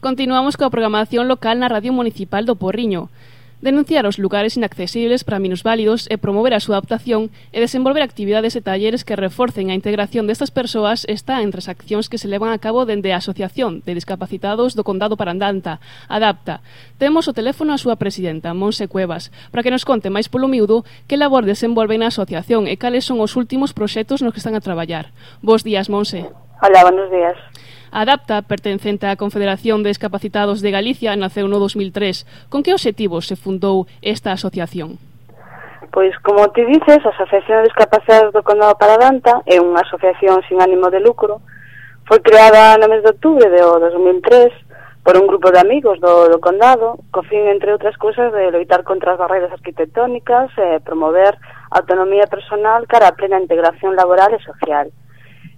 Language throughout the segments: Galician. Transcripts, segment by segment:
Continuamos coa programación local na Radio Municipal do Porriño. Denunciar os lugares inaccesibles para minusválidos e promover a súa adaptación e desenvolver actividades e talleres que reforcen a integración destas persoas está entre as accións que se levan a cabo dende a Asociación de Discapacitados do Condado Parandanta, ADAPTA. Temos o teléfono a súa presidenta, Monse Cuevas, para que nos conte máis polo miúdo que labor desenvolven na asociación e cales son os últimos proxectos nos que están a traballar. Bos días, Monse. Hola, buenos días. A ADAPTA, pertencente á Confederación de Discapacitados de Galicia, naceu no 2003. Con que obxectivos se fundou esta asociación? Pois, como ti dices, a Asociación de Discapacitados do Condado Parandanta é unha asociación sin ánimo de lucro. Foi creada no mes de outubro do 2003 por un grupo de amigos do Condado, co fin, entre outras cousas, de loitar contra as barreiras arquitectónicas e promover a autonomía personal cara á plena integración laboral e social.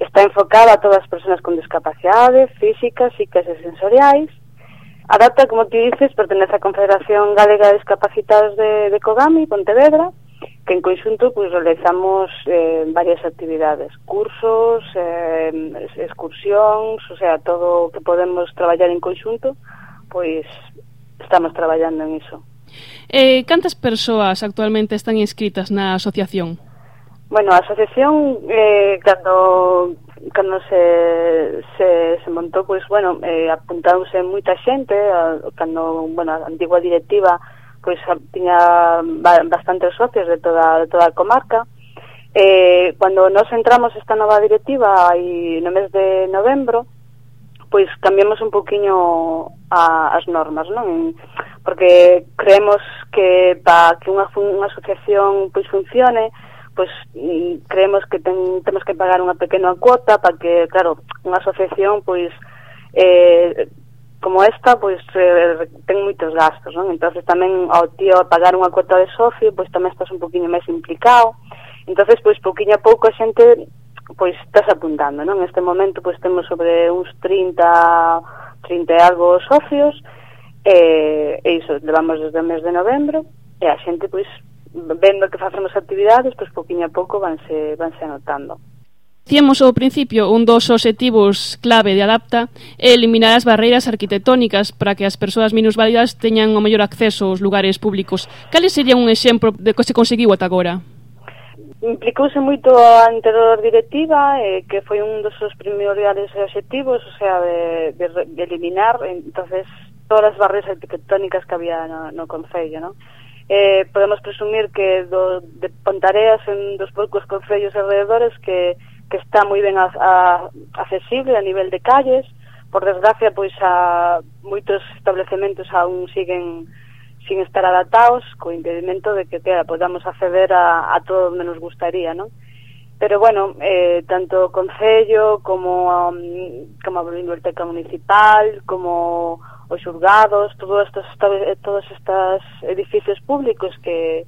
Está enfocada a todas as persoas con discapacidades físicas, psíquicas e sensoriais. ADAPTA, como ti dices, pertenece á Confederación Galega de Discapacitados de Cogami, Pontevedra, que en conxunto pues, realizamos varias actividades, cursos, excursións, o sea, todo o que podemos traballar en conxunto, pois estamos traballando en iso. Cantas persoas actualmente están inscritas na asociación? Bueno, a asociación, cando se montou, pois, bueno, apuntándose moita xente, cando, bueno, a antigua directiva, pois, tiña bastantes socios de toda a comarca. Cando nos entramos esta nova directiva, aí no mes de novembro, pois, cambiamos un poquinho as normas, non? Porque creemos que para que unha asociación, pois, funcione, pois creemos que temos que pagar unha pequena cuota para que, claro, unha asociación, pois, como esta, pois, ten moitos gastos, non? Entonces tamén ao tío pagar unha cuota de socio, pois tamén estás un poquinho máis implicado. Entonces, pois, pouquinho a pouco a xente, pois, estás apuntando, non? Neste momento, pois, temos sobre uns 30 e algo socios, e iso, levamos desde o mes de novembro, e a xente, pois, vendo que facemos actividades, pois pouquinho a pouco vanse anotando. Dicíamos ao principio, un dos obxectivos clave de ADAPTA é eliminar as barreiras arquitectónicas para que as persoas minusválidas teñan o mellor acceso aos lugares públicos. Cales serían un exemplo de que se conseguiu ata agora? Implicouse moito a anterior directiva, que foi un dos seus primordiales obxectivos, o sea, de eliminar, entonces, todas as barreiras arquitectónicas que había no concello, non? Podemos presumir que de Pontareas en dos poucos concellos alrededores que está moi ben accesible a nivel de calles. Por desgracia, pois a moitos establecementos aún siguen sin estar adaptados, co impedimento de que podamos acceder a todo onde nos gustaría, non? Pero bueno, tanto o concello como a biblioteca municipal, como os xulgados, todos estes edificios públicos que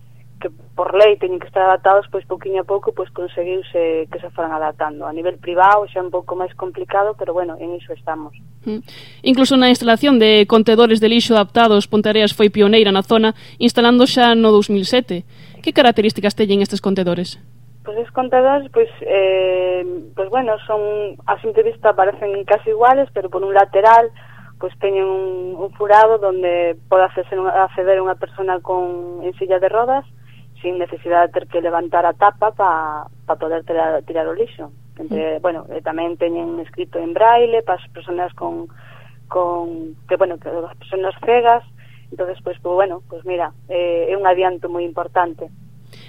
por lei teñen que estar adaptados, pois pouquinho a pouco pois conseguiuse que se foran adaptando. A nivel privado xa é un pouco máis complicado, pero bueno, en iso estamos. Incluso na instalación de contedores de lixo adaptados, Ponteareas foi pioneira na zona, instalando xa no 2007. Que características teñen estes contedores? Pois os contedores, pois bueno, son, a simple vista parecen casi iguales, pero por un lateral pois teñen un furado donde pode acceder unha persona en silla de rodas sin necesidade de ter que levantar a tapa para poder tirar o lixo. Bueno, tamén teñen escrito en braille para as persoas que as persoas cegas. Entonces, pois mira, é un adianto moi importante.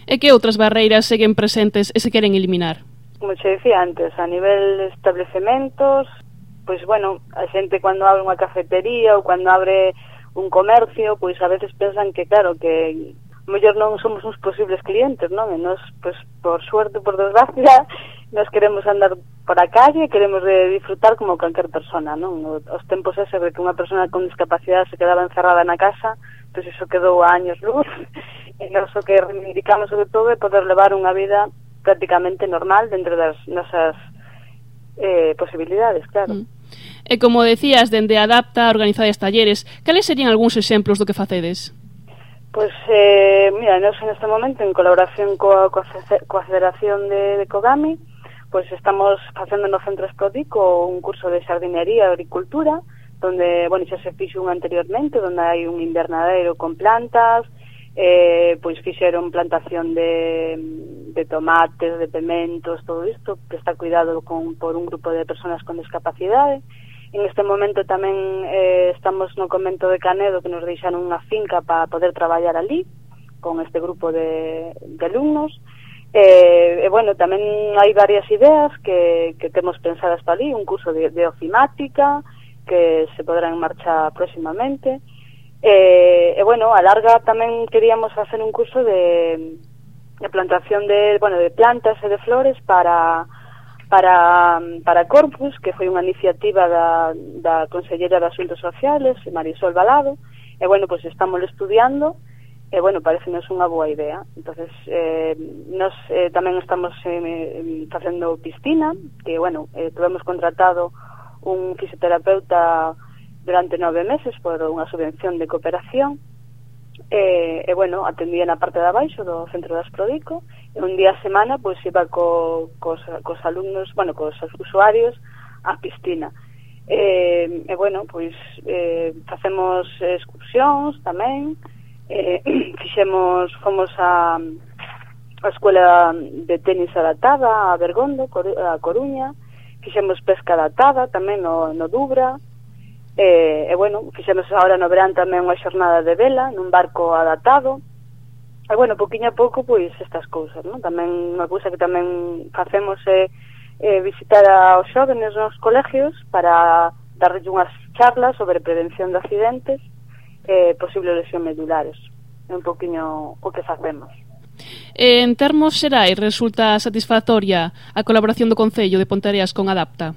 E que outras barreiras seguen presentes e se queren eliminar? Como che dicía antes, a nivel de establecementos, pois, bueno, a xente cando abre unha cafetería ou cando abre un comercio, pois a veces pensan que, claro, que mellor non somos uns posibles clientes, non? E nos, pois, por suerte, por desgracia, nos queremos andar por a calle, queremos disfrutar como calquer persona, non? Os tempos ese de que unha persona con discapacidade se quedaba encerrada na casa, pois iso quedou a años luz, e nos o que reivindicamos sobre todo é poder levar unha vida prácticamente normal dentro das nosas posibilidades, claro. E como decías, dende ADAPTA organizades talleres, cales serían algúns exemplos do que facedes? Pois, mira, nós neste momento, en colaboración coa Federación de Cogami, pois estamos facendo no Centro Esprodico un curso de xardinería e agricultura donde, bueno, xa se fixo un anteriormente, donde hai un invernadeiro con plantas, pois fixeron plantación de tomates, de pimentos, todo isto, que está cuidado por un grupo de personas con discapacidade. En este momento tamén estamos no convento de Canedo, que nos deixaron unha finca para poder traballar ali, con este grupo de alumnos. Bueno, tamén hai varias ideas que temos pensadas para ali, un curso de ofimática, que se podrá en marcha próximamente. Bueno, a larga tamén queríamos hacer un curso de plantación de plantas e de flores para Corpus, que foi unha iniciativa da Consellera de Asuntos Sociales, Marisol Balado, e bueno, pois estamos estudiando, e bueno, parecenos unha boa idea. Entonces, nos tamén estamos facendo piscina, que bueno, tuvemos contratado un fisioterapeuta durante 9 meses por unha subvención de cooperación, bueno, atendía na parte de abaixo do centro de Asprodico, e un día a semana pois iba cos alumnos, bueno, cos usuarios á piscina. Bueno, pois facemos excursións tamén, fomos a escuela de tenis adaptada a Bergondo, a Coruña, fixemos pesca adaptada tamén no Dubra, bueno, fixemos agora no verán tamén unha xornada de vela nun barco adaptado, e bueno, poquinho a pouco pois estas cousas, non? Tamén unha cousa que tamén facemos é visitar aos xóvenes nos colegios para darles unhas charlas sobre prevención de accidentes e posibles lesión medulares. É un poquinho o que facemos. En termos xerais, resulta satisfactoria a colaboración do Concello de Ponteareas con Adapta?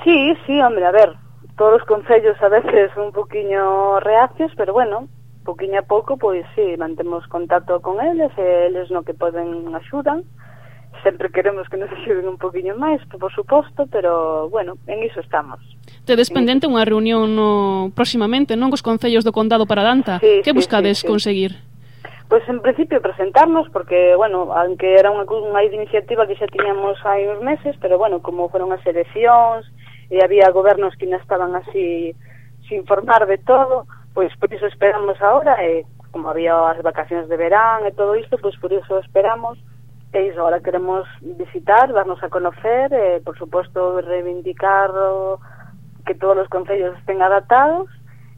Sí, hombre, a ver, todos os concellos a veces un poquinho reacios, pero bueno, poquinho a pouco, pois sí, mantemos contacto con eles, e eles no que poden axudan. Sempre queremos que nos axuden un poquinho máis, por suposto, pero bueno, en iso estamos. Tedes pendente unha reunión próximamente, non, cos concellos do Condado para Danta? Sí, que buscades conseguir? Pois en principio presentarnos, porque, bueno, aunque era unha iniciativa que xa tiñamos hai uns meses, pero bueno, como foron as eleccións e había gobernos que non estaban así sin informar de todo, pois por iso esperamos agora, e como había as vacacións de verán e todo isto, pois por iso esperamos, e iso, ahora queremos visitar, darnos a conocer, e por suposto reivindicar que todos os concellos estén adaptados,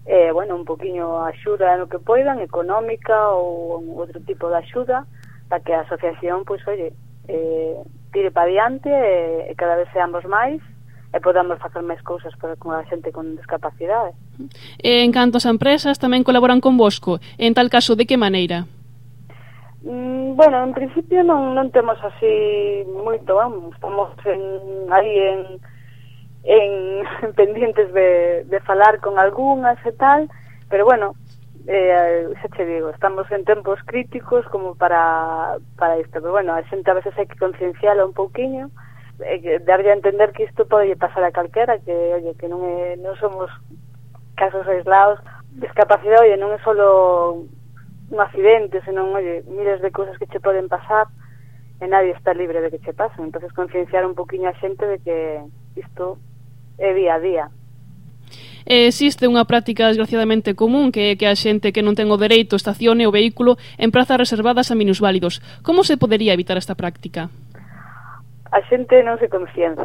bueno, un poquinho axuda no que poidan, económica ou outro tipo de axuda, para que a asociación, pois, oye, tire para diante e cada vez seamos máis e podamos facer máis cousas con a xente con discapacidade. En canto as empresas tamén colaboran convosco, en tal caso, de que maneira? Bueno, en principio non temos así moito, estamos aí en pendientes de falar con algunhas e tal, pero bueno, xa te digo, estamos en tempos críticos como para isto, pero bueno, a xente a veces hai que concienciala un pouquiño, darlle a entender que isto pode pasar a calquera, que oye, que non somos casos aislados, discapacidade, oye, non é solo un accidente, senón, oye, miles de cousas que che poden pasar e nadie está libre de que che pasen. Entonces concienciar un poquinho a xente de que isto é día a día. Existe unha práctica desgraciadamente común que a xente que non ten o dereito estacione o vehículo en prazas reservadas a minusválidos. Como se podería evitar esta práctica? A xente non se conciencia,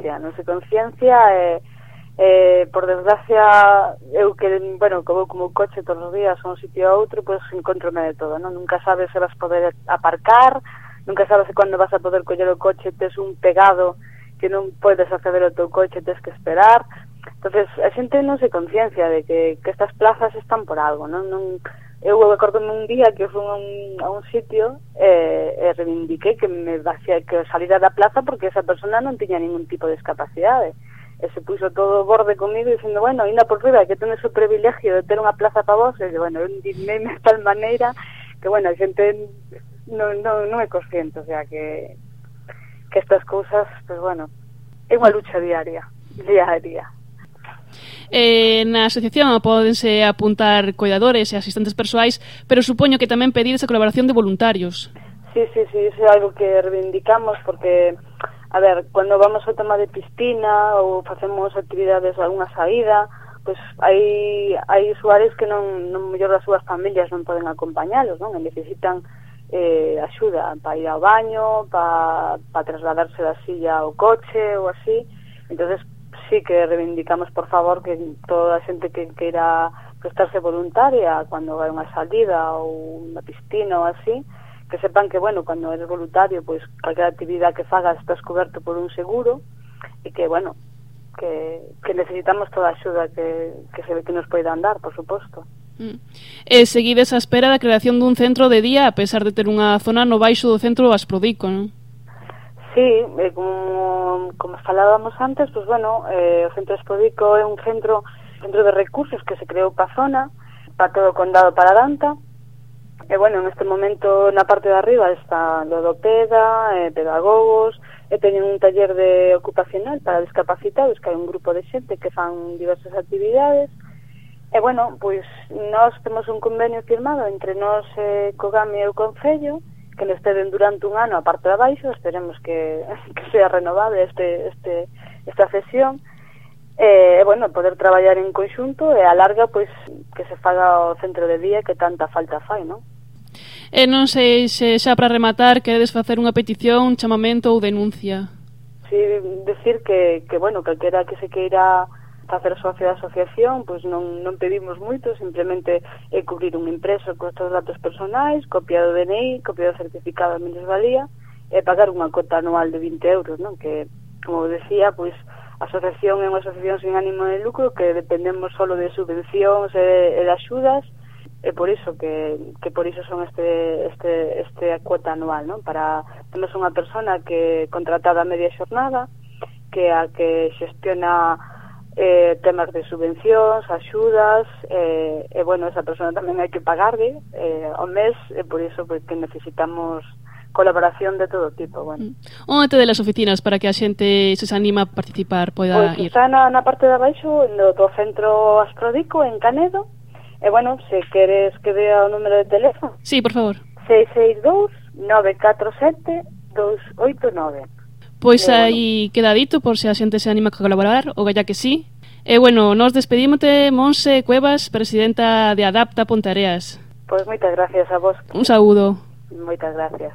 por desgracia, eu que, bueno, que vou como coche todos os días a un sitio a outro, pois encontrome de todo, non? Nunca sabes se vas poder aparcar, nunca sabes se cando vas a poder coller o coche, tes un pegado que non podes acceder ao teu coche, tes que esperar. Entonces, a xente non se conciencia de que estas plazas están por algo, non? Eu acordome un día que fui a un sitio e reivindiquei que salira da plaza porque esa persona non tiña ningún tipo de discapacidade. E se puxo todo borde comigo dicindo, bueno, ainda por riba que tenes o privilegio de ter unha plaza para vos, e bueno, eu indignei-me de tal maneira que, bueno, a xente non é consciente, o sea, que estas cousas, pues bueno, é unha lucha diaria. Na asociación pódense apuntar cuidadores e asistentes persoais, pero supoño que tamén pedides a colaboración de voluntarios. Sí, iso é algo que reivindicamos porque, a ver, cando vamos ao tema de piscina ou facemos actividades, alguna saída, pois hai usuarios que non mellor as súas familias non poden acompañalos, non? E necesitan axuda para ir ao baño, para trasladarse da silla ao coche ou así. Entonces sí que reivindicamos, por favor, que toda a xente que queira prestarse voluntaria cando vai unha salida ou unha piscina ou así, que sepan que, bueno, cando eres voluntario, pois calquera actividade que fagas estás coberto por un seguro e que, bueno, que necesitamos toda a axuda que nos poidan dar, por suposto. Seguides a espera da creación dun centro de día, a pesar de ter unha zona no baixo do centro Asprodico, non? Sí, como falábamos antes, pues bueno, o centro Asprodico é un centro de recursos que se creou pa zona, para todo o condado para Danta. E bueno, en este momento na parte de arriba está logopeda, pedagogos, e teñen un taller de ocupacional para discapacitados, que hai un grupo de xente que fan diversas actividades. E bueno, pois nós temos un convenio firmado entre nós, Cogami e o Concello, que nos teden durante un ano a parte de abaixo, esperemos que sea renovada esta sesión, e bueno, poder traballar en conxunto e a larga, pois, que se faga o centro de día que tanta falta fai, non? E non sei se xa para rematar queredes facer unha petición, chamamento ou denuncia. Sí, decir que bueno, calquera que se queira facer socio da asociación, pois non pedimos moito, simplemente é cubrir un impreso con estes datos personais, copia do DNI, copia do certificado de minusvalía e pagar unha cota anual de 20 euros, non? Que, como decía, pois a asociación é unha asociación sin ánimo de lucro que dependemos solo de subvencións e de axudas, e por iso que por iso son este cuota anual, non? Temos unha persona que contratada a media xornada, que xestiona temas de subvencións, axudas, e bueno, esa persona tamén hai que pagarle ao mes, e por iso que necesitamos colaboración de todo tipo. Bueno. Onde tedes as oficinas para que a xente se anima a participar, poida ir? Está na parte de abaixo do centro Asprodico en Canedo, e bueno, se queres que dea o número de teléfono. Sí, por favor. 662-947-289. Pois aí queda dito por se a xente se anima a colaborar, ou galla que sí. E bueno, nos despedímote, Monse Cuevas, presidenta de Adapta Ponteareas. Pois moitas gracias a vos. Un saúdo. Moitas gracias.